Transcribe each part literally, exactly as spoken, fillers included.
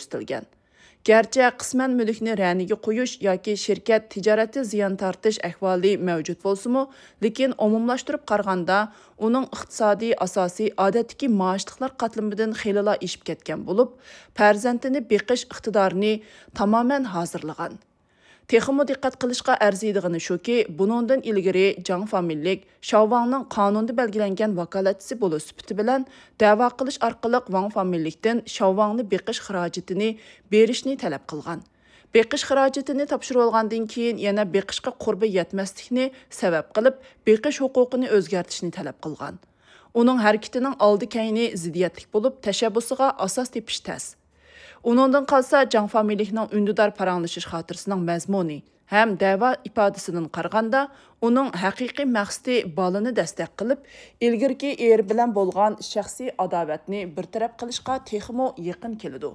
كۆرسىتىلگەن. گەرچە قىسمەن مۈلۈكنى رەنىگە قويۇش ياكى شىركەت تىجارەتتە زىيان تارتىش ئەھۋالى مەۋجۇت بولسىمۇ، لېكىن ئومۇملاشتۇرۇپ قارىغاندا، ئۇنىڭ ئىقتىسادىي ئاساسى ئادەتتىكى مائاشلىقلار قاتلىمىدىن خېلىلا ئېشىپ كەتكەن بولۇپ، پەرزەنتىنى بېقىش ئىقتىدارىنى تامامەن ھازىرلىغان. تېخىمۇ دىققەت قىلىشقا ئەرزىيدىغىنى شۇكى، بۇنىڭدىن ئىلگىرى جاڭ فامىلىلىك شاۋ ۋاڭنىڭ قانۇندا بەلگىلەنگەن ۋاكالەتچىسى بولۇش سۈپىتى بىلەن دەۋا قىلىش ئارقىلىق ۋاڭ فامىلىلىكتىن شاۋ ۋاڭنى بېقىش خىراجىتىنى بېرىشنى تەلەپ قىلغان. بېقىش خىراجىتىنى تاپشۇرۇۋالغاندىن كېيىن يەنە بېقىشقا قۇربى يەتمەسلىكنى سەۋەب قىلىپ، بېقىش ھوقۇقىنى ئۆزگەرتىشنى تەلەپ قىلغان. ئۇنىڭ ھەرىكىتىنىڭ ئالدى-كەينى زىددىيەتلىك بولۇپ، تەشەببۇسىغا ئاساس تېپىش تەس. ئۇنىڭدىن قالسا، جاڭ فامىلىلىكنىڭ ئۈندىدار پاراڭلىشىش خاتىرىسىنىڭ مەزمۇنى ھەم دەۋا ئىپادىسىدىن قارىغاندا، ئۇنىڭ ھەقىقىي مەقسىتى بالىنى دەستەك قىلىپ، ئىلگىرىكى ئېرى بىلەن بولغان شەخسىي ئاداۋەتنى بىر تەرەپ قىلىشقا تېخىمۇ يېقىن كېلىدۇ.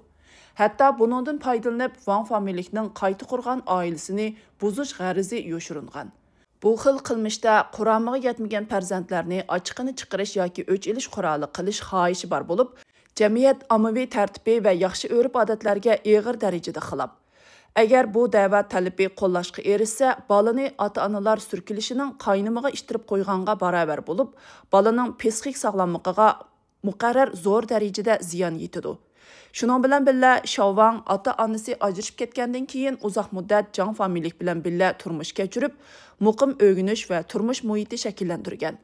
ھەتتا بۇنىڭدىن پايدىلىنىپ، ۋاڭ فامىلىلىكنىڭ قايتا قۇرغان ئائىلىسىنى بۇزۇش غەرىزى يوشۇرۇنغان. بۇ خىل قىلمىشتا قۇرامىغا يەتمىگەن پەرزەنتلەرنى ئاچىقىنى چىقىرىش ياكى ئۆچ ئېلىش قورالى قىلىش خاھىشى بار بولۇپ، جەمئىيەت ئاممىۋى تەرتىپى ۋە ياخشى ئۆرپ-ئادەتلەرگە ئېغىر دەرىجىدە خىلاپ. ئەگەر بۇ دەۋا تەلىپى قوللاشقا ئېرىشسە، بالىنى ئاتا-ئانىلار سۈركىلىشىنىڭ قاينىمىغا ئىتتىرىپ قويغانغا باراۋەر بولۇپ، بالىنىڭ پسىخىك ساغلاملىقىغا مۇقەررەر زور دەرىجىدە زىيان يېتىدۇ. شۇنىڭ بىلەن بىللە، شاۋ ۋاڭ ئاتا-ئانىسى ئاجرىشىپ كەتكەندىن كېيىن ئۇزاق مۇددەت جاڭ فامىلىلىك بىلەن بىللە تۇرمۇش كەچۈرۈپ، مۇقىم ئۆگىنىش ۋە تۇرمۇش مۇھىتى شەكىللەندۈرگەن.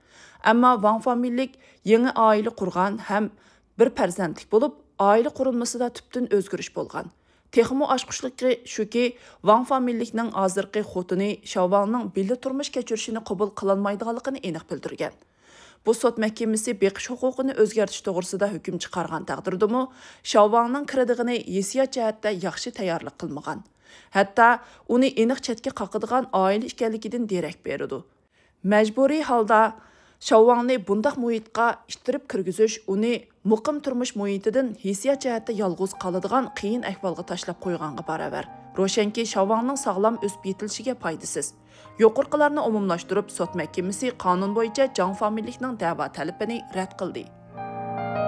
ئەمما ۋاڭ فامىلىلىك يېڭى ئائىلە قۇرغان ھەم بىر پەرزەنتلىك بولۇپ، ئائىلە قۇرۇلمىسىدا تۈپتىن ئۆزگىرىش بولغان. تېخىمۇ ئاچقۇچلۇقى شۇكى، ۋاڭ فامىلىلىكنىڭ ھازىرقى خوتۇنى شاۋ ۋاڭنىڭ بىللە تۇرمۇش كەچۈرۈشىنى قوبۇل قىلالمايدىغانلىقىنى ئېنىق بىلدۈرگەن. بۇ سوت مەھكىمىسى بېقىش ھوقۇقىنى ئۆزگەرتىش توغرىسىدا ھۆكۈم چىقارغان تەقدىردىمۇ، شاۋ ۋاڭنىڭ كىرىدىغىنى ھېسسىيات جەھەتتە ياخشى تەييارلىق قىلمىغان. ھەتتا ئۇنى ئېنىق چەتكە قاقىدىغان ئائىلە ئىكەنلىكىدىن دېرەك بېرىدۇ. مەجبۇرىي ھالدا شاۋ ۋاڭنى بۇنداق مۇھىتقا ئىتتىرىپ كىرگۈزۈش ئۇنى مۇقىم تۇرمۇش مۇھىتىدىن ھېسسىيات جەھەتتە يالغۇز قالىدىغان قىيىن ئەھۋالغا تاشلاپ قويغانغا باراۋەر. روشەنكى، شاۋ ۋاڭنىڭ ساغلام ئۆسۈپ يېتىلىشىگە پايدىسىز. يۇقىرىقىلارنى ئومۇملاشتۇرۇپ، سوت مەھكىمىسى قانۇن بويىچە جاڭ فامىلىلىكنىڭ دەۋا تەلىپىنى رەت قىلدى.